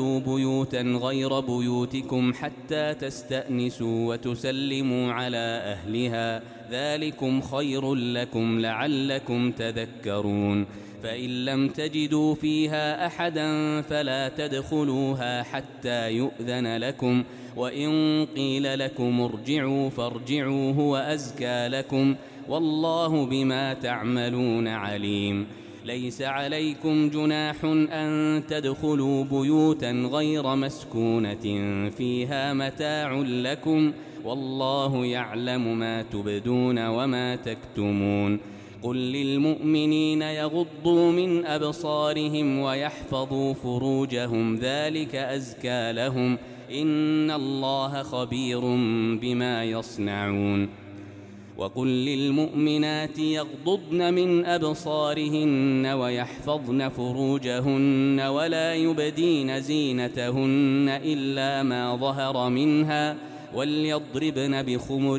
بيوتا غير بيوتكم حتى تستأنسوا وتسلموا على أهلها ذلكم خير لكم لعلكم تذكرون فإن لم تجدوا فيها أحدا فلا تدخلوها حتى يؤذن لكم وإن قيل لكم ارجعوا فارجعوا هو أزكى لكم والله بما تعملون عليم ليس عليكم جناح أن تدخلوا بيوتا غير مسكونة فيها متاع لكم والله يعلم ما تبدون وما تكتمون قل للمؤمنين يغضوا من أبصارهم ويحفظوا فروجهم ذلك أزكى لهم إن الله خبير بما يصنعون وقل للمؤمنات يغضضن من أبصارهن ويحفظن فروجهن ولا يبدين زينتهن إلا ما ظهر منها وليضربن بخمر